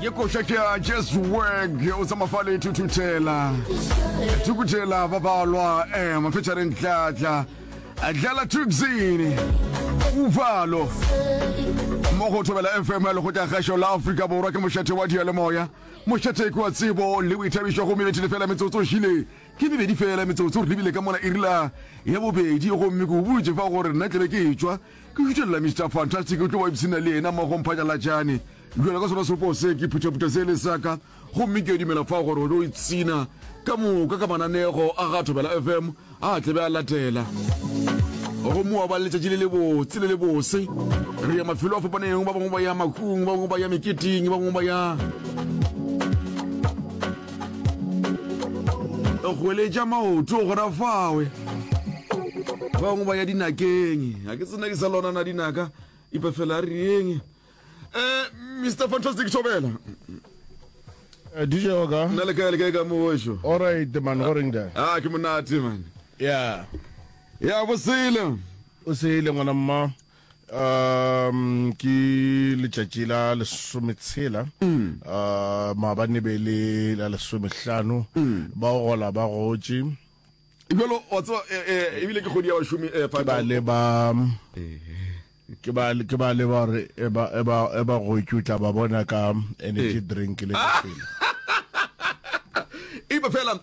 Ye koša ke ya Just Work o tsamaya fa le thuthuthela thukuthela ba balwa ema featuring Dladla Dlala Tuxini Uvalo mo go Thobela FM ya lekgotla kgašo la Afrika Borwa ke mošate wa diyalemoya mošate ke wa tsebo le boithabišo gomme bethile fela metsotso šile ke mebedi fela metsotso re lebile ka mola irila ya bobedi gomme ke o botše fa gore nna tlebe ke etšwa Ke šuthelela Mister Fantastic o tlo ba ipshina le yena mmogo Mphatlalatšane. Bjalo ka sona seropo se, ke phuthaphutha se le sa ka gomme ke a dumela fao gore o tlo ipshina ka moka ka mananego a ga Thobela FM a tle be a latela. Gomme wa ba le letšatši le lebotse le lebose. Re ya mafelo a fapaneng, ba bangwe ba ya mahung, ba bangwe ba ya meketeng, ba bangwe ba ya goeletša maoto gona fawe. Ba bangwe ba ya dinakeng. Ga ke tsena ke sa lona na dinaka. Ipa fela a reng. Eh, Mr. Fantastic Thobela. Eh, DJ Oga. Nna le kae le kae ka mo wešo? All right man, go reng da? Ah, ke monate man. Yeah. Ya bosele. O sele ngwana mma. Um ke letšatši la lesometshela. Mm. Uh maabane be le la lesomehlano. Mm. Ba gola ba gotše. Bjalo wa tseba eh, eh, ebile ke kgwedi ya bašomi eh, Ke ba le ba ke ba ke ba le ba re e ba e ba e ba gotše o tla ba bona ka energy drink le pele. Ipa fela.